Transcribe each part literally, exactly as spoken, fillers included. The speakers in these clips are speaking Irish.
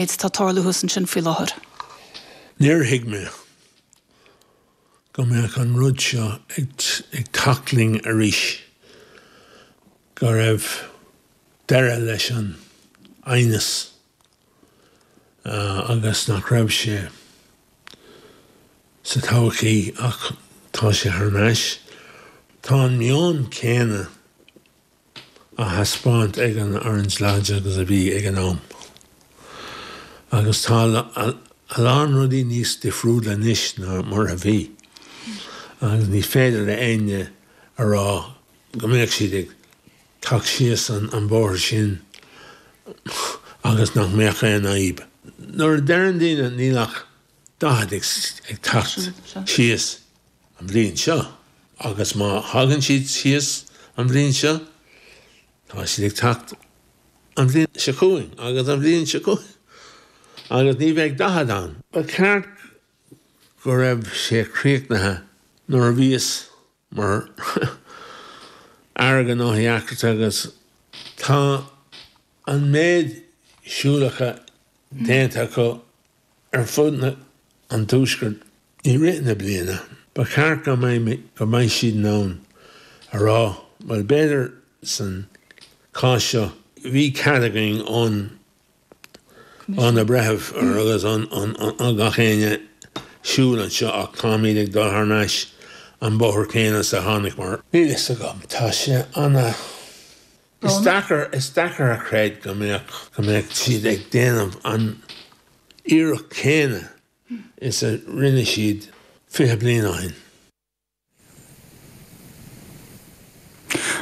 Tá tarlú thuas ansin faoi láthair. Níor thuig mé go mbeadh an rud seo ag teacht linn arís, go raibh deireadh leis an aighneas agus nach raibh sé sa todhchaí ach tá sé thar n-ais. Tá an meon céanna á thaispeáint ag an Orange Lodge agus a bhí ag an am. Agus tá a lán rudaí níos difriúla anois ná mar a bhí. Agus ní féidir le éinne a rá go mbeadh siad ag teacht síos an bóthar sin agus nach mbeadh aon fhadhb. Nuair a deireann daoine níl ach daichead ag teacht síos an bhliain seo agus má thagann siad síos an bhliain seo, tá siad ag teacht an bhliain seo chugainn agus an bhliain seo chugainn agus ní bheidh daichead ann. Ba cheart go raibh sé críochnaithe nuair a bhíos mar Aire Gnóthaí Eachtracha agus tá an méid siúlacha déanta acu ar fud na an tuaiscirt i rith na bliana. Ba cheart go mbeidh go mbeidh siad in ann a rá bhuel b'fhéidir san cás seo bhí cead againn ón ó na breithimh agus ó gach éinne siúl anseo ach táimid ag dul thar n-ais an bóthar céanna is a tháinig mar. Níl fhios agam, tá sé ana. Is deacair, is deacair a chreid go mbeadh, go mbeadh siad ag déanamh an iarracht céanna is a rinne siad fiche bliain ó shin.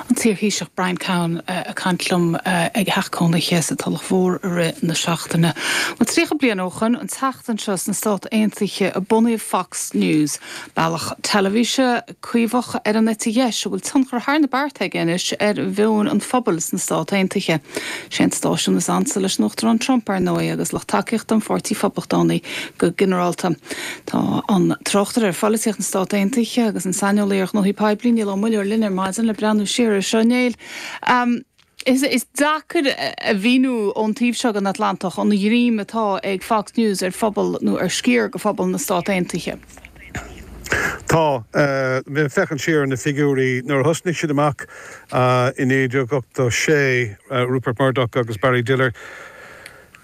An t-iarThaoiseach Brian Cowen ag caint liom ag a theach cónaithe sa Tulach Mhór i rith na seachtaine. Bhuel, tríocha bliain ó shoin, an tseachtain seo sna Stáit Aontaithe a bunaíodh Fox News, bealach teilifíse caomhach ar an eite dheis a bhfuil tionchar thar na bearta aige anois ar mheon an phobail sna Stáit Aontaithe. Sé an stáisiún is ansa leis an Uachtarán Trump, ar ndóigh, agus lucht tacaíochta an Pháirtí Phoblachtánaigh go ginearálta. Tá an tráchtaire ar pholaitíocht na Stát Aontaithe agus an saineolaí ar ghnóthaí poiblí, Niall Ó Muilleoir, linn ar maidin le breathnú siar air seo. Néill, is deacair a mhíniú ón taobh seo den Atlantach an ghreim atá ag Fox News ar phobal nó ar sciar de phobal na Stát Aontaithe. Tá. Bhí mé ag féachaint siar ar na figiúirí nuair a thosnaigh siad amach i naoi déag ochtó sé, Rupert Murdoch agus Barry Diller.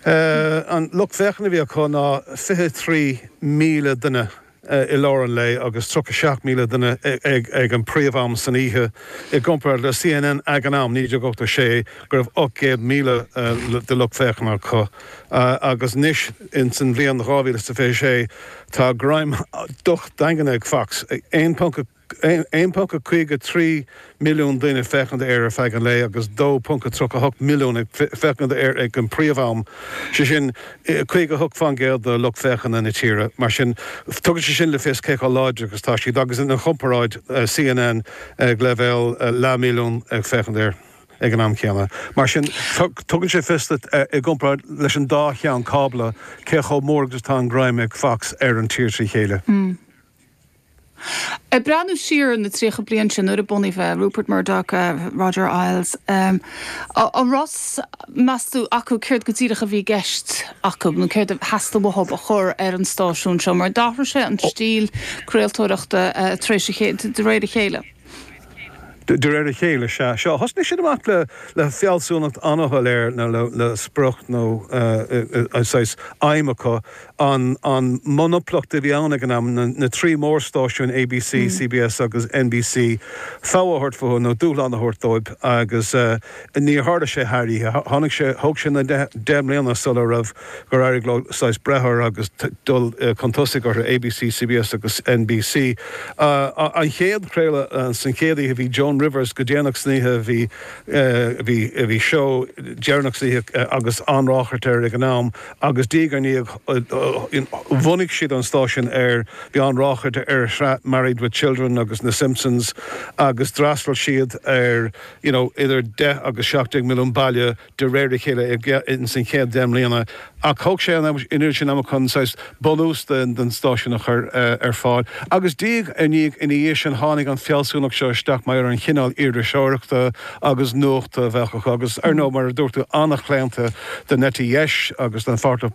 An lucht féachana a bhí acu ná fiche trí míle duine i lár an lae agus tríocha seacht míle duine ag an príomh-am san oíche, i gcomparáid le CNN ag an am, naoi déag ochtó sé, go raibh ocht gcéad míle de lucht féachana acu. Agus anois, ins an bhliain dhá mhíle is a fiche sé, tá greim docht daingean ag Fox, aon ponc aon ponc caoga trí milliún duine ag féachaint air ar feadh an lae agus dó ponc tríocha hocht milliún ag féachaint air ag an príomh-am, sé sin caoga hocht faoin gcéad de lucht féachana na tíre. Mar sin, tugann sé sin le fios cé chomh láidir agus atá siad agus ina chomparáid CNN ag leibhéal leathmhilliún ag féachaint air ag an am céanna. Mar sin, tugann sé fios duit i gcomparáid leis an dá cheann cábla cé chomh mór agus atá an greim ag Fox ar an tír trí chéile. Ag breathnú siar ar na tríocha bliain sin, nuair a bunaíodh é, Rupert Murdoch, Roger Ailes, an raibh fhios, meas tú, acu céard go díreach a bhí i gceist acu nó céard a theastaigh uathu a chur ar an stáisiún seo? Mar d'athraigh sé an stíl craoltóireachta tar éis a chéile, de réir a chéile. De réir a chéile, sea. Seo, thosnaigh siad amach le le fealsúnacht an-shoiléir nó le le sprioc nó saghas aidhm acu, an an monoplacht a bhí ann ag an am, na na trí mórstáisiún ABC, CBS agus NBC, fogha a thabhairt fúthu nó dúshlán a thabhairt dóibh agus níor tharla sé thar oíche. Tháinig sé, thóg sé na deich mbliana sula raibh gur éirigh leo saghas breith orthu agus dul chun tosaigh orthu, ABC, CBS agus NBC. An chéad chraoladh, san chéad oíche bhí Joan Rivers go déanach san oíche, bhí bhí bhí seó deireanach san oíche agus an-ráchairt air ag an am agus diaidh ar ndiaidh bhunaigh siad an stáisiún ar, bhí an-ráchairt ar shraith Married with Children agus na Simpsons agus d'fhreastail siad ar you know idir deich agus seacht déag milliún baile de réir a chéile ins an chéad deich mbliana ach thóg sé an oiread sin ama chun saghas bunús den stáisiún a chur ar fáil. Agus diaidh ar ndiaidh ina dhiaidh sin tháinig an fealsúnacht seo isteach mar an chineál iriseoireachta agus nuachta a bheadh acu agus ar ndóigh mar a dúirt tú an-chlaonta don eite dheis agus don pháirtí